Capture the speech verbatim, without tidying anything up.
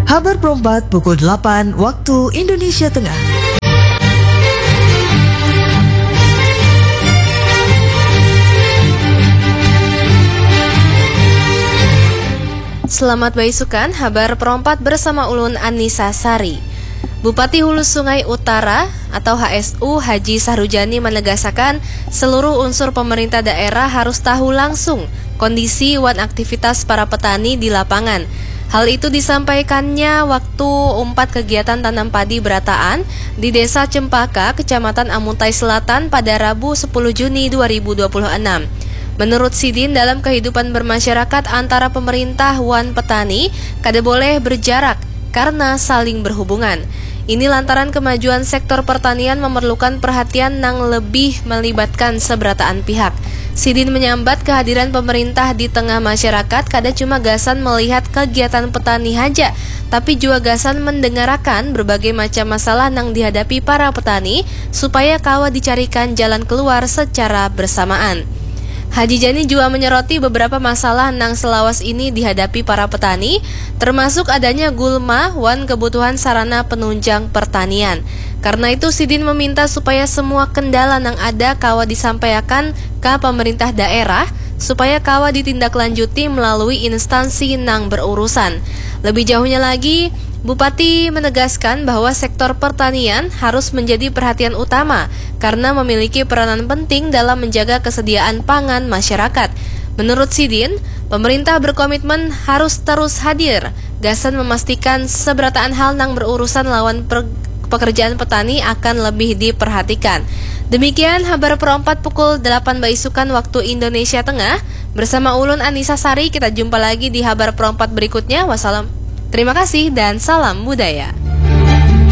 Habar perempat pukul delapan waktu Indonesia Tengah. Selamat baisukan, habar perompat bersama ulun Anissa Sari. Bupati Hulu Sungai Utara atau H S U Haji Sahrujani menegasakan seluruh unsur pemerintah daerah harus tahu langsung kondisi wan aktivitas para petani di lapangan. Hal itu disampaikannya waktu umpat kegiatan tanam padi berataan di Desa Cempaka, Kecamatan Amuntai Selatan pada Rabu sepuluh Juni dua ribu dua puluh enam. Menurut sidin, dalam kehidupan bermasyarakat antara pemerintah wan petani kada boleh berjarak karena saling berhubungan. Ini lantaran kemajuan sektor pertanian memerlukan perhatian nang lebih melibatkan seberataan pihak. Sidin menyambat kehadiran pemerintah di tengah masyarakat kada cuma gasan melihat kegiatan petani haja, tapi juga gasan mendengarakan berbagai macam masalah nang dihadapi para petani supaya kawa dicarikan jalan keluar secara bersamaan. Haji Jani juga menyoroti beberapa masalah nang selawas ini dihadapi para petani, termasuk adanya gulma wan kebutuhan sarana penunjang pertanian. Karena itu, sidin meminta supaya semua kendala nang ada kawa disampaikan ka pemerintah daerah supaya kawa ditindaklanjuti melalui instansi nang berurusan. Lebih jauhnya lagi, Bupati menegaskan bahwa sektor pertanian harus menjadi perhatian utama karena memiliki peranan penting dalam menjaga kesediaan pangan masyarakat. Menurut sidin, pemerintah berkomitmen harus terus hadir gasan memastikan seberataan hal nang berurusan lawan per- pekerjaan petani akan lebih diperhatikan. Demikian habar perompat pukul delapan baisukan waktu Indonesia Tengah. Bersama ulun Anissa Sari, kita jumpa lagi di habar perompat berikutnya. Wassalam. Terima kasih dan salam budaya.